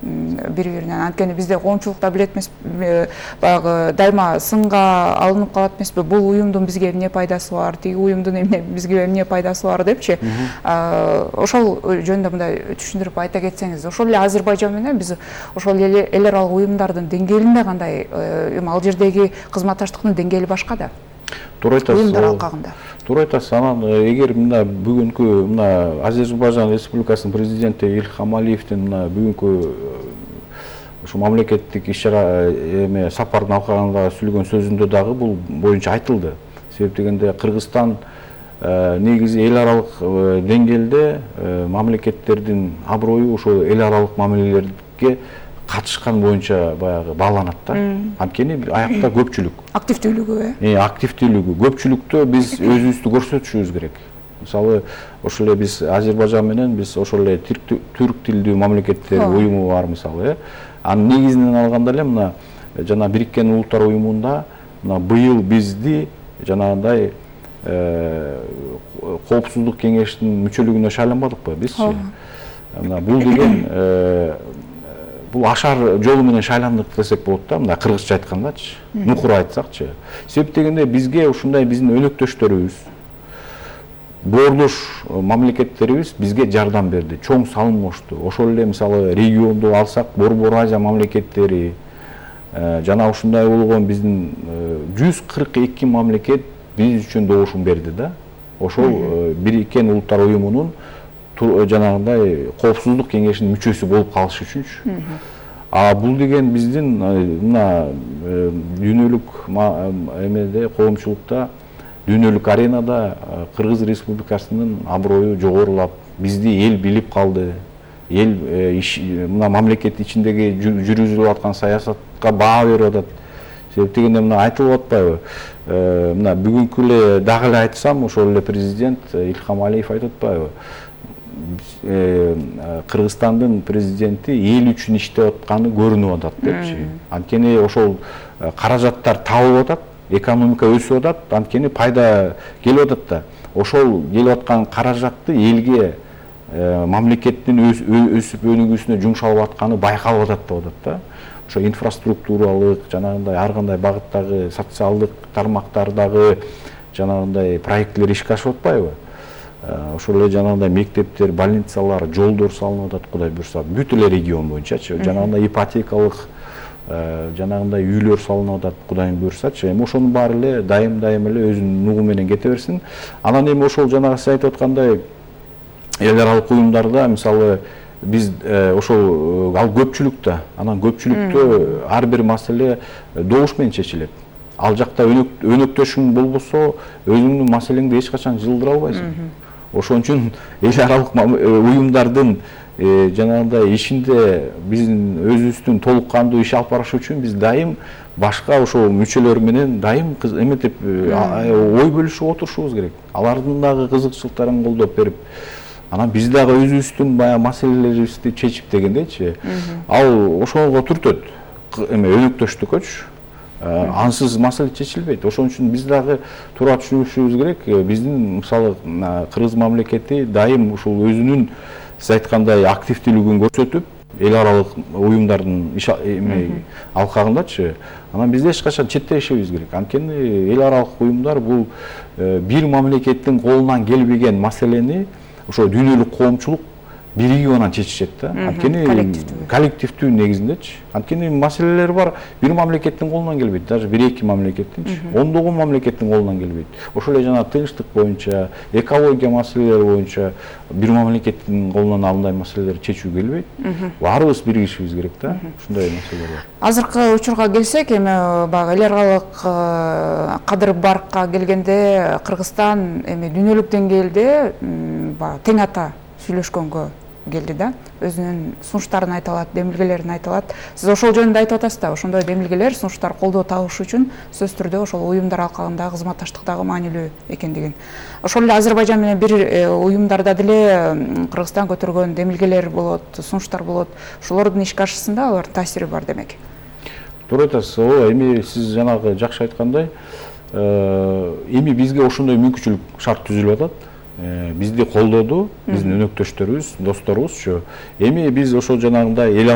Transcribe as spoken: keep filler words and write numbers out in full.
бири биринен. Анткени бизде коомчулукта билет эмес, баягы дайыма сынга алынып калат эмеспи, бул уюмдун бизге эмне пайдасы бар, тиги уюмдун эмне бизге эмне пайдасы бар депчи. Ошол жөнүндө мындай түшүндүрүп айта кетсеңиз, ошол эле Азербайжан менен биз ошол эле эл аралык уюмдардын деңгээлинде кандай, эми ал жердеги кызматташтыктын деңгээли башка да. Туура айтасыз. Уюмдар алкагында. Туура айтасыз. Анан эгер мына бүгүнкү мына Азербайжан Республикасынын президенти Ильхам Алиевдин мына бүгүнкү ушу мамлекеттик иш-чара эме сапардын алкагында сүйлөгөн сөзүндө дагы бул боюнча айтылды. Себеп дегенде Кыргызстан негизи эл аралык деңгээлде мамлекеттердин аброю ошо эл аралык мамилелерге катышкан боюнча баягы бааланат да. Анткени аякта көпчүлүк. Активдүүлүгү, э? Активдүүлүгү. Көпчүлүктө биз өзүбүздү көрсөтүшүбүз керек. Мисалы, ошол эле биз Азербайжан менен биз ошол эле түрк тилдүү мамлекеттер уюму бар мисалы, э? Анын негизинен алганда эле мына жана Бириккен Улуттар уюмунда мына быйыл бизди жанагындай коопсуздук кеңешинин мүчөлүгүнө шайланбадыкпы бизчи? Мына бул деген бул ашар жолу менен шайландык десек болот да, мына кыргызча айткандачы, нукур айтсакчы. Себеп дегенде бизге ушундай биздин өнөктөштөрүбүз, боордош мамлекеттерибиз бизге жардам берди, чоң салым кошту. Ошол эле мисалы регионду алсак, Борбор Азия мамлекеттери жана ушундай болгон биздин жүз кырк эки мамлекет биз үчүн добушум берди да. Ошол Бириккен Улуттар уюмунун жанагындай коопсуздук кеңешинин мүчөсү болуп калыш үчүнчү. А бул деген биздин мына дүйнөлүк эмеде коомчулукта, дүйнөлүк аренада Кыргыз Республикасынын аброю жогорулап, бизди эл билип калды. Эл мына мамлекет ичиндеги жүргүзүлүп аткан саясатка баа берип атат. Себеп дегенде мына айтылып атпайбы? Мына бүгүнкү эле дагы эле айтсам, ошол эле президент Ильхам Алиев айтып атпайбы? Кыргызстандын президенти эл үчүн иштеп атканы көрүнүп атат депчи. Анткени ошол каражаттар табылып атат, экономика өсүп атат, анткени пайда келип атат да. Ошол келип аткан каражатты элге мамлекеттин өсүп өнүгүүсүнө жумшалып атканы байкалып атат деп атат да. Ошо инфраструктуралык, жанагындай ар кандай багыттагы социалдык тармактардагы жанагындай проекттер ишке ашып атпайбы? Ошол эле жанагындай мектептер, больницалар, жолдор салынып атат, Кудай буйрса, бүт эле регион боюнчачы. Жанагындай ипотекалык жанагындай үйлөр салынып атат, Кудай буйрсачы. Эми ошонун баары эле дайым-дайым эле өзүнүн нугу менен кете берсин. Анан эми ошол жанагы сиз айтып аткандай эл аралык уюмдарда мисалы биз ошол ал көпчүлүктө, анан көпчүлүктө ар бир маселе добуш менен чечилет. Ал жакта өнөктөшүң болбосо, өзүңдүн маселеңди эч качан жылдыра албайсың. Ошон үчүн эл аралык уюмдардын жанагындай ишинде биздин өзүбүздүн толук кандуу иш алып барыш үчүн биз дайым башка ошол мүчөлөр менен дайым эметип ой бөлүшүп отурушубуз керек. Алардын дагы кызыкчылыктарын колдоп берип, анан биз дагы өзүбүздүн баягы маселелерибизди чечип дегендейчи. Ал ошого түртөт эме өнөктөштүккөчү. Ансыз маселе чечилбейт. Ошон үчүн биз дагы туура түшүнүшүбүз керек. Биздин мисалы Кыргыз мамлекети дайым ушул өзүнүн сиз айткандай активдүүлүгүн көрсөтүп, эл аралык уюмдардын иш алкагындачы, анан биз эч качан четтешибиз керек. Анткени эл аралык уюмдар бул бир мамлекеттин колунан келбеген маселени ошо дүйнөлүк коомчулук биригип анан чечишет да. Анткени коллективдүү негизиндечи. Анткени маселелер бар, бир мамлекеттин колунан келбейт, даже бир-эки мамлекеттинчи, ондогон мамлекеттин колунан келбейт. Ошол эле жана тынчтык боюнча, экология маселелери боюнча бир мамлекеттин колунан андай маселелерди чечүү келбейт. Баарыбыз биригишибиз керек да, ушундай маселелер бар. Азыркы учурга келсек, эми баягы эл аралык кадыр баркка келгенде Кыргызстан эми дүйнөлүк деңгээлде баягы тең ата сүйлөшкөнгө келди да, өзүнүн сунуштарын айта алат, демилгелерин айта алат. Сиз ошол жөнүндө айтып атасыз да, ошондой демилгелер, сунуштар колдоо табыш үчүн сөзсүз түрдө ошол уюмдар алкагындагы кызматташтыктагы маанилүү экендигин. Ошол эле Азербайжан менен бир уюмдарда деле Кыргызстан көтөргөн демилгелер болот, сунуштар болот. Ошолордун ишке ашышында алардын таасири бар демек. Туура айтасыз. Ооба, эми сиз жанагы жакшы айткандай, эми бизге ошондой мүмкүнчүлүк шарт түзүлүп атат. Бизди колдоду, биздин өнөктөштөрүбүз, досторубузчу. Эми биз ошол жанагындай эл